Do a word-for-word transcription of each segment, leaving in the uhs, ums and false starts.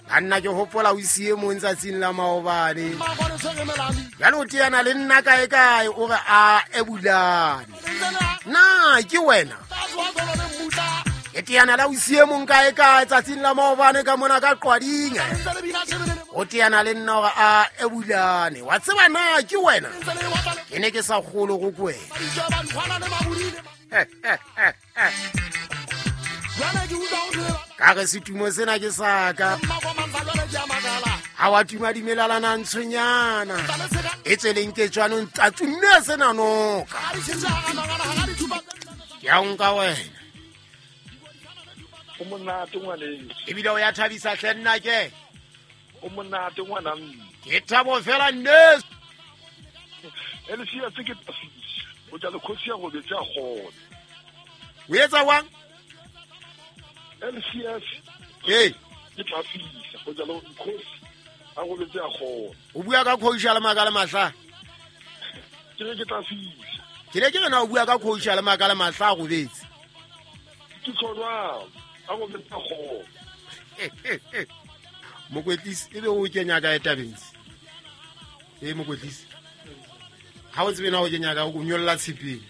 Banna ke hopola o siye mong tsatsing la maobane. Jwale o teana le nna kae kae o re a ebulane. Na ke wena? Ke teana la o siye mong kae kae tsatsing la maobane ka mona ka Qwading. O teana le nna hore a ebulane. Wa tseba na ke wena? Ke ne ke sa kgolo go kwena. Ka re setumo sena ke sa ka. Ha wa tuma dimelalana ntshonyana. E tsweleng ke tshwanong tsa tumme sena noka. Ke a nka wena. O monate ngwaneng. Ebile o ya thabisa hle nna ke. O monate ngwana mme. Ke thabo fela nne. L C S ke tafisa. O tla le khosi ya robetse a kgona. O etsa wang? L C S. Hey, ke tafisa. O tla le khosi a robetse a kgona. O bua ka khosi le maka le mahla. Ke re ke tafisa. Ke ne ke rena o bua ka khosi le maka le mahla a robetse. Ke tsona a robetse a kgona. Mokwetlisi ebe o kenya ka tabeng. Eh mokwetlisi. Ha o tsebe na o kenya ka o nyolla tshipeng.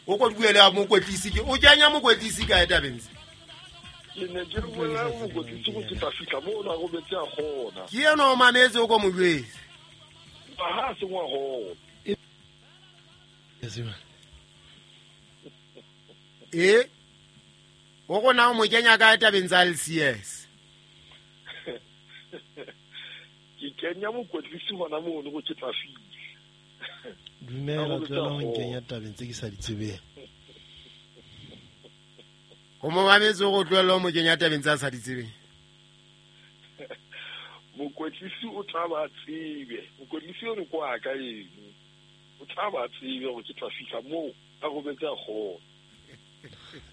O ko buele a mokwetlisi ke o kenya mokwetlisi ka tabeng. Ke ne ke bua mokwetlisi go ke tla fihla mo na robetse a kgona. Ke yena o mametse o ko mo jwetse. Ha se ngwa ho. Eh o gona o mo kenya ka tabeng tsa L C S. Ke kenya mokwetlisi hona mono go ke tla fihla. Dumela tswela ho nkenya tabeng tse ke sa di tsebeng. O mo mametse go tlohella o mo kenya tabeng tsa sa di tsebeng. Mokwetlisi o tla ba tsebe. Mokwetlisi o re kwa ka eng? O tla ba tsebe gore ke tla fihla moo a robetse a kgona.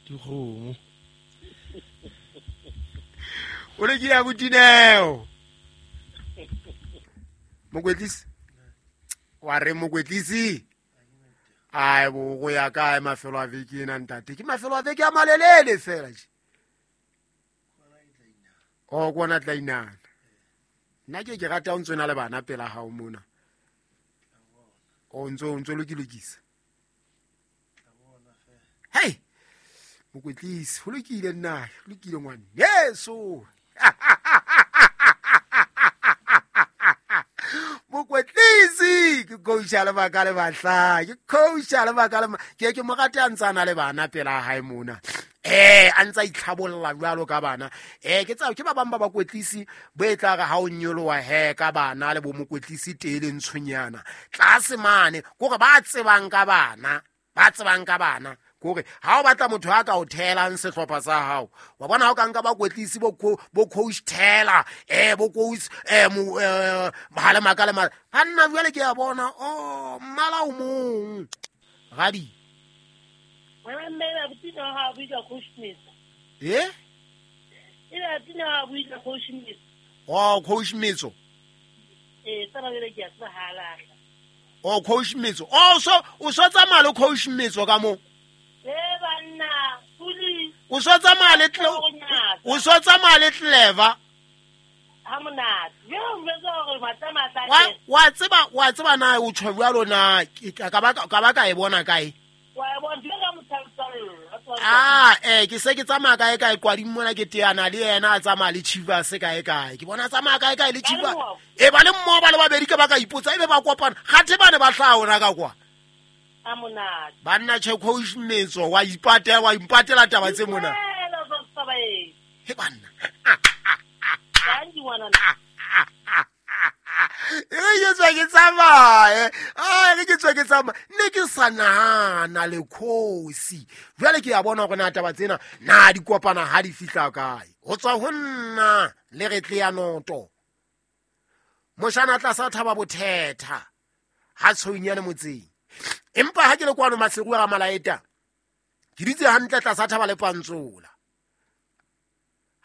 Dikgomo. O le ke ya botineo. Mokwetlisi. Wa re mokwetlisi. Ai bo go ya kae mafelo a veke ena ntate. Ke mafelo a veke a malelele fela je. O kona tla inana. Nna ke ke rata o ntse na le bana pela hao mona. O ntse o ntse lokilokisa. Hey. Mokwetlisi ho lokile nna, ho lokile ngwane. Yeso. Mokwetlisi ke coach le baka le batla ke coach le baka le ke ke mo rate a ntsana le bana pela hae mona. Eh a ntsa itlhabolla jwalo ka bana. Eh ke tsa ke ba bang ba bakwetlisi bo e tla re ha o nyoloha he ka bana le bo mokwetlisi tele ntshonyana. Tlase mane kore ba tsebang ka bana, ba tsebang ka bana. Kore ha o batla motho a ka o theelang sehlopha sa hao wa bona ha o ka nka bakwetlisi bo bo coach Taylor eh bo coach eh mohale makale mara ha nna jwale ke ya bona oh mmala o mong gadi wena mme ba butina ha buisa coach Smith eh ila tina ha buisa coach Smith oh coach Mitso eh tsana le ke ya tsahala oh coach Mitso oh so o so tsamaya le coach Mitso ka mo eh banna puli o so tsamaya le o so tsamaya le clever ha monate yo mvetsa hore matla wa wa tseba wa tseba na o tshwa jwalo na ka ba ka ba ka e bona kae wa e bona ka motsaltsalo ah eh ke se ke tsamaya kae kae Qwading mona ke teana le yena a tsamaya le Chivas kae kae ke bona tsamaya kae kae le Chivas e ba le mmoho ba le babedi ke ba ka ipotsa ebe ba kopana gathe bane ba hlaha ona ka kwa a monate banna che coach Metso wa ipatela wa impatela taba tse mona he banna e ke tswa ke tsamaye a re ke tswa ke tsamaya ne ke sa nahana le khosi jwale ke ya bona hore na taba tsena na di kopana ha di fihla kae ho tswa ho nna le re tle ya noto moshana tlasa thaba bothetha ha tshounyane motseng empa ha ke le kwano Maseru ga Malaeta ke ditse hantle tlasa thaba le pantsola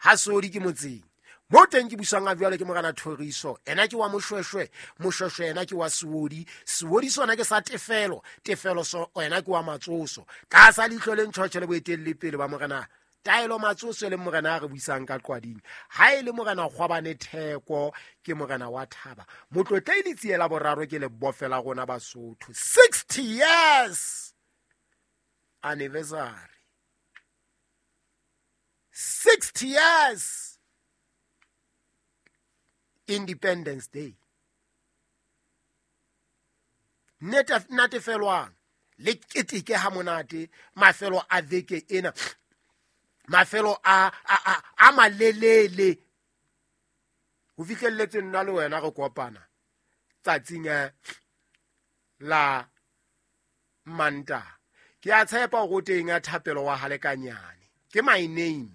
ha sodi ke motseng mo teng ke busang a jwale ke morana Thoriso ena ke wa Moshweshwe Moshweshwe ena ke wa Seodi Seodi sona ke sa Tefelo Tefelo so ena ke wa Matsoso tlasa leihlo le ntjhotjhe le boetelle pele ba morena Taelo Matsoso le morena a re buisang ka Qwading. Ha e le morena Kgwabane Theko ke morena wa Thaba. Motlotlei Letsie la boraro ke le bofela rona Basotho. sixty years anniversary. sixty years Independence Day. Natefelwang le keteke ha monate mafelo a veke ena, mafelo a a a, a malelele ho fihlelletse nna le wena re kopana tsatsing la Manta. Ke a tshepa hore o teng a Thapelo wa Halekanyane. Ke my name.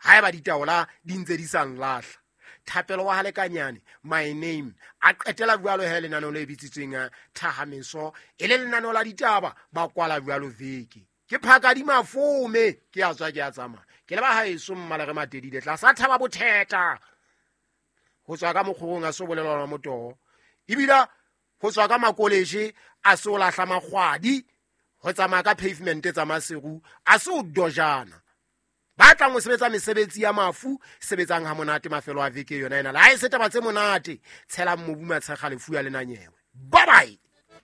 Haeba ditaola di ntse di sa nlahla. Thapelo wa Halekanyane, my name. A qetela jwalo he lenaneo le bitsitsweng Thahameso, e le lenaneo la ditaba ba kwala jwalo veke. Ke phaka di mafome, ke a tswa ke a tsamaya. Ke le ba haeso mmala re matedile tlasa thaba botheta. Ho tswa ka mokgorong a so bolelwa motoho. Ebile ho tswa ka makoleje a so lahla makgwadi, ho tsamaya ka pavement tsa Maseru a so dojana. Ba tlang ho sebetsa mesebetsi ya mafu, sebetsang ha monate mafelo a veke yona ena. Le ha e se taba tse monate, tshelang mobu matshekga lefu ya lenanyewe. Bye bye.